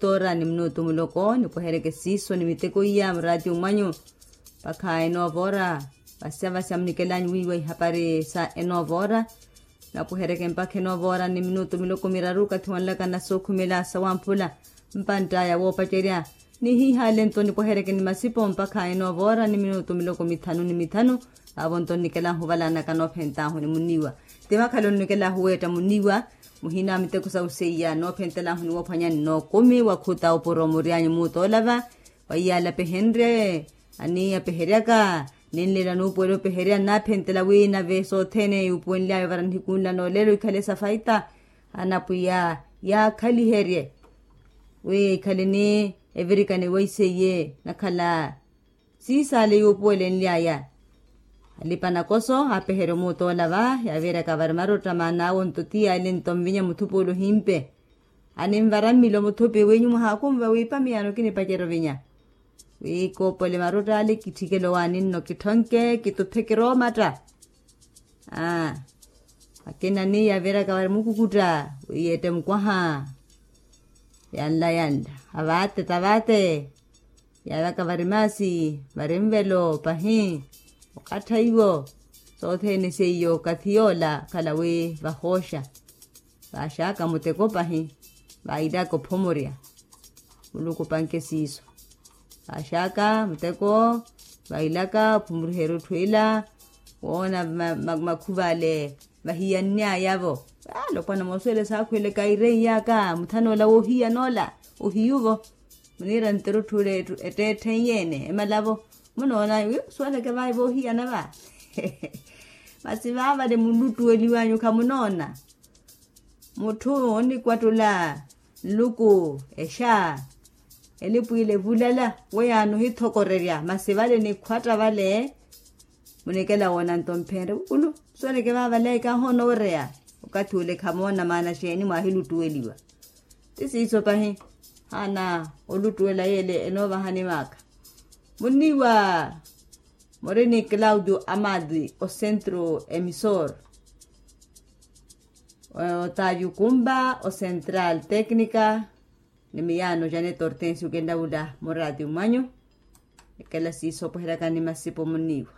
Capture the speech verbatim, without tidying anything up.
otoora ni minutu muloko nipwehereke siiso ni miteko iya muraati umwanyu. Mpakha enoova ora vasya vasya munikelanyu wiiwa ihapari sa enoova ora. Napwehereke mpakha enoova ora ni minutu miloko miraru okathi wanlaka na sookhumela sawamphula mpantt'aya woopacerya. Ni hiihale nto nipwehereke ni masipo mpakha enoova ora ni minutu miloko mithanu ni mithanu. Vaavo nto nnikelahu valanaka noophentahu ni muniiwa. Ti vakhala onnikela ahuweetta muniiwa muhina a miteko sa useiya noophentelahu ni woophwanya nnookumi wakhuta opuro muryanyu muutoolava. Wa iyaala pehenrye aniiya peheryaka ninlela nuupuwela opeherya nnaaphentela wi nave sothene yuupuwenly'aya ovara nihikunla noolelo ikhale sa faita. Anapwiya yaakhaliherye wi ikhale ni evirikani weiseiye nakhala siisaale yuupuwelenly'aya. Alipa nakoso aapeherya omuutoolava yaaviiraka vari marotta maana awo nto ti yaali nto nvinya muthupi ole ohimpe. Aninvara mmilo muthupi wenyu mwahaakunva wiipa miyaano kinipacerya ovinya wi koopole marotta ale kitthikele owaani nno kitthonke kituphe kiroomatta. Aa akina ni yaaviraka vari mukukutta wi yeette mukwaha. Yanla yanla avaate tavaate. Yaavaka vari maasi vari nvelo pahi okattha iwo. Sothene seiyo okathi yoola khala wi vahooxa vaaxaka muteko pahi. Vailaka ophomorya muluku opanke siiso. Vaaxaka muteko vailaka ophomoriherya otthu ila woona makhuva ale vahiyanny'ayavo. Alopwana moosuwela saakhweleka ireiy'aka muthan'ola woohiyan'ola ohiyuvo. Muniira nterutthu ule etteettheiye-ene emalavo munoona wi suweleke vaayi voohiyana va. Masi vaavale muluttuweliwanyu khamunoona mutthu onnikwattula nluku exa elipwiile evulala weyaani ohithokorerya masi vale nikhwatta vale. Munikela woona nto mphenre kukulu suweleke vaavale kahoona owereya okathi ule khamoona maana xeeni mwaahiluttuweliwa. Ti siiso pahi haana oluttuwela yeele enoovahani maaka. Muniiwa muri ni claudio amadi osentro emisor otaavi okumba ocentral tecnica ni miyaano janet hortensio kenlawula muraati mwanyu. Ekela siiso opweheryaka ni masipo muniiwa.